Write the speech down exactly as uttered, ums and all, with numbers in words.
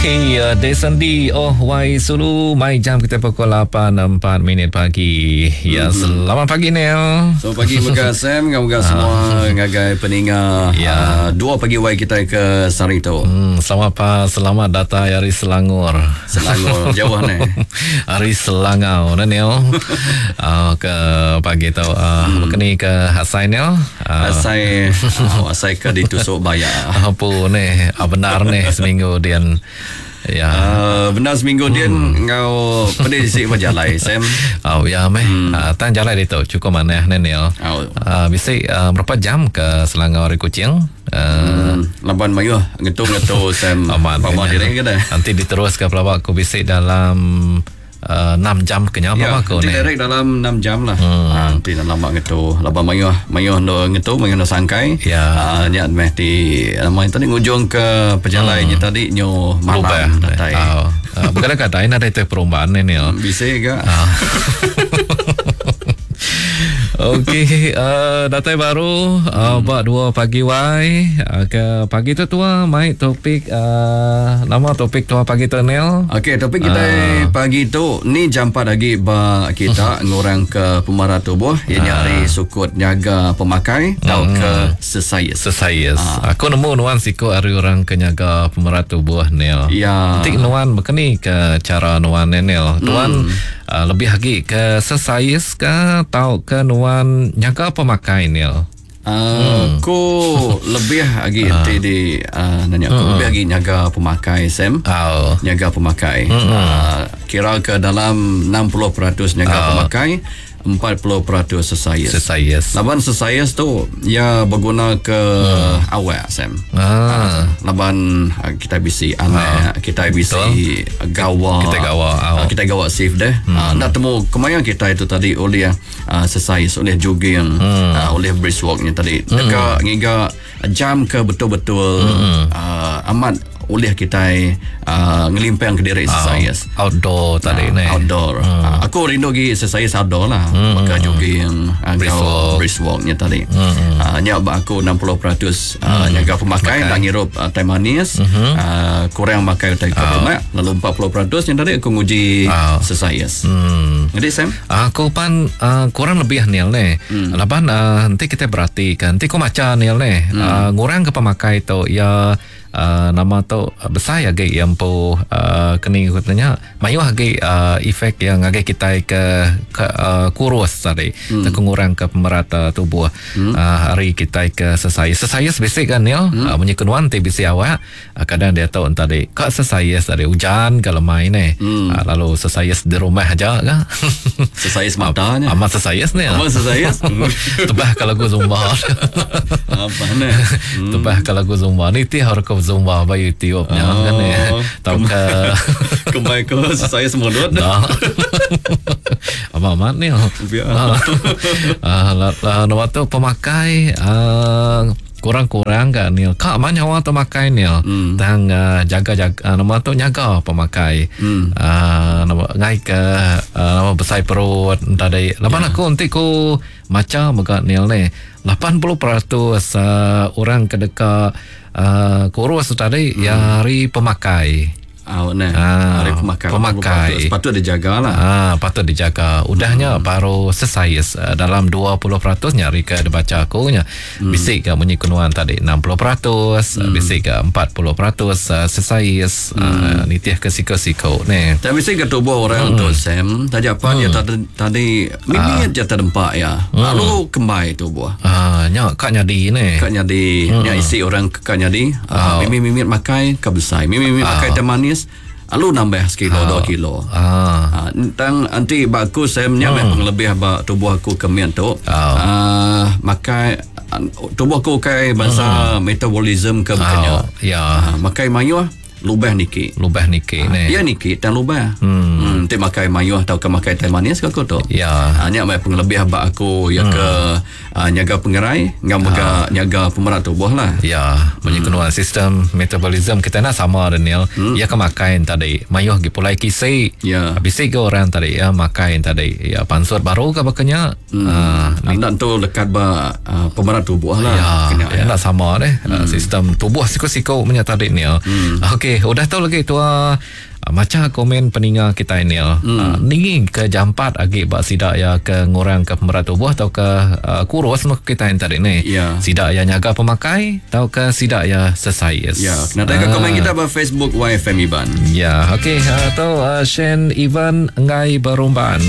Okey, uh, Desendi Oh Wai Sulu mai jam kita pukul lapan empat minit pagi. Ya, mm-hmm. Selamat pagi Neil. Selamat pagi mega Sam, ngau semua ngagai peninga. Ya. Uh, dua pagi wai kita ke sehari tu. Hmm, selamat pa, selamat datang dari Selangor. Selangor jauh ni. Hari Selangau nah Neil. uh, ke pagi tu uh, hmm. Kini ke Hasai Neil. Uh, Asai uh, asai ke ditusuk bayar. Apa ni? Ah, benar ni seminggu dia. Ya. Uh, benar seminggu hmm. dia ngau pedih sik berjalai Sam. Oh ya meh. Hmm. Uh, tan jalan dia tu cukup manah ni Neil. Oh. Uh, bisi uh, berapa jam ke Selangor dari Kuching? Uh, hmm. Laban mayuh ngetu-ngetu Sam. Aman. Pama diri ke dah. Nanti diterus ke pelawak aku bisi dalam Uh, enam jam kenyang ya, apa aku ni. Direct dalam enam jam lah. Hmm. Ha, nanti dalam mak ngetu. Laban mayuh, mayuh ndo ngetu, mayuh ndo sangkai. Ya. Ha, nyat meh ti nama tadi ngujung ke perjalanannya hmm. tadi nyo malam datai. Oh. Uh, bukan kata ini ada itu perubahan ni ni. Bisa ke? Okey, uh, datai baru uh, hmm. buat dua pagi wai. Uh, ke pagi tu tua mai topik uh, nama topik tua pagi tu Neil. Okey, topik kita uh. pagi tu ni jam empat lagi ba kita ngurang ke pemarah tubuh ia nyari uh. sukut nyaga pemakai hmm. tau ke sesayas. Sesayas. Uh. Aku nemu nuan siku ari orang ke nyaga pemarah tubuh Neil. Ya. Tik nuan bekeni ke cara nuan Neil. Tuan hmm. uh, lebih lagi ke sesayas ke tau ke nuan nyaga pemakai Neil? Uh, aku lebih lagi uh. di uh, nanya aku uh-uh. lebih lagi nyaga pemakai Sam. Oh. Nyaga pemakai. Uh-uh. Uh, kira ke dalam enam puluh peratus nyaga oh. pemakai, empat puluh peratus sesayas. Sesayas. Laban sesayas tu ya berguna ke hmm. awak Sam. Ah. Laban kita bisi anak, ah. kita bisi gawa. Kita gawa. Oh. Kita gawa safe deh. Hmm. Uh, nak temu kemaya kita itu tadi oleh uh, sesayas, oleh jogging, hmm. uh, oleh brisk walknya tadi. Hmm. Dekat ngiga jam ke betul-betul hmm. uh, amat oleh kita uh, ngelimpang ke diri exercise. Oh, outdoor tadi uh, ni. Outdoor. Hmm. Uh, aku rindu gi exercise outdoor lah. Hmm. Maka jogging, brisk walk. Brisk walknya tadi. Hmm. Uh, nyak aku enam puluh peratus uh, hmm. nyaga pemakai, tak ngirup uh, teh manis, hmm. uh, kurang makan teh Oh. lemak, lalu empat puluh peratus yang tadi aku nguji oh. exercise. Hmm. Jadi Sam, aku pan uh, kurang lebih Neil ni. Hmm. Laban uh, nanti kita perhatikan, nanti aku maca Neil ni. Hmm. Uh, ngurang ke pemakai tu ya Uh, nama tu uh, besar lagi yang po uh, kini katanya mayuh lagi uh, efek yang lagi kita ke, ke uh, kurus tadi hmm. terkengurang ke pemerata tubuh hmm. uh, hari kita ke sesayas sesayas basic kan ya hmm. uh, bunyi kenuan T B C awak uh, kadang dia tahu tadi kak sesayas tadi hujan kalau main ni hmm. uh, lalu sesayas di rumah aja ke sesayas matanya amat sesayas ni amat sesayas tebah kalau aku zumba apa ni hmm. tebah kalau aku zumba ni ti harus zumba ba YouTube nya oh, kan ya. Tau ke kembali ke saya semua dot. Dah. Amat-amat ni. Ah, lah nama tu pemakai uh, kurang-kurang kan Neil. Kak mana awak tu makai Neil? Hmm. Tang uh, jaga-jaga uh, nama tu nyaga pemakai. Hmm. Uh, nama ngai ke uh, nama besar perut tadi. Lapan yeah. aku nanti ku maca mega Neil ni. lapan puluh peratus uh, orang kedeka uh, kurus tadi hmm. ya hari pemakai. Ah, nah. Ah, hari pemakai. Pemakai. Patut dijaga lah. Ah, patut dijaga. Udahnya hmm. baru sesais uh, dalam dua puluh peratus nya hari ke dibaca aku nya. Hmm. Bisik ke bunyi kenuan tadi enam puluh peratus, hmm. bisik ke empat puluh peratus uh, sesais hmm. uh, nitih ke siko-siko ni. Tapi bisik ke tubuh orang hmm. tu Sam, tadi apa hmm. dia tadi tadi mimit ah. je terdempak ya. Hmm. Lalu kembai tubuh. Ah, nya kak nyadi ni. Kak nyadi, hmm. nya isi orang kak nyadi. Ah. Uh, mimit-mimit makai ke besar. Mimit-mimit Ah. makai teh manis. Lalu nambah sekilo, Ah. dua kilo. Ah. Ha, tentang nanti baku saya punya Hmm. pengelebih ba tubuh aku kemian tu. Ah. Ah, makai tubuh aku kai bangsa Hmm. metabolism ke bukannya. Ah, ya. Ha, makai mayuh lubah niki. Lubah niki Ha, ni. ya niki tan lubah. Hmm. Hmm, ti makai mayuh atau ke makai teh manis ke aku tu. Ya. Ha, nya mai pengelebih ba aku ya Hmm. ke uh, nyaga pengerai, ngam mega nyaga pemerat tubuh lah. Ya, bunyi hmm. sistem metabolism kita nak sama Daniel. Hmm. Ya ke makan tadi, mayuh gi pulai kisi. Ya. Habis ke orang tadi ya makan tadi. Ya pansut baru ke bakanya. Hmm. Ah, Anda tu lekat ba uh, pemerat tubuh lah. Ya, Kena, ya, nak sama deh. Hmm. Sistem tubuh siko-siko punya tadi ni. Hmm. Okey, Okey, udah tu lagi tua maca komen peninga kita Neil. Hmm. Uh, ni ke jampat agi bak sidak ya ke ngurang ke pemerat tubuh atau ke uh, kurus mak kita yang tadi ni. Ya. Sidak ya nyaga pemakai atau ke sidak ya sesais. Ya, kena tanya uh. komen kita ba Facebook Y F M Iban. Ya, okey, atau uh, Shane Ivan Ngai Berumban.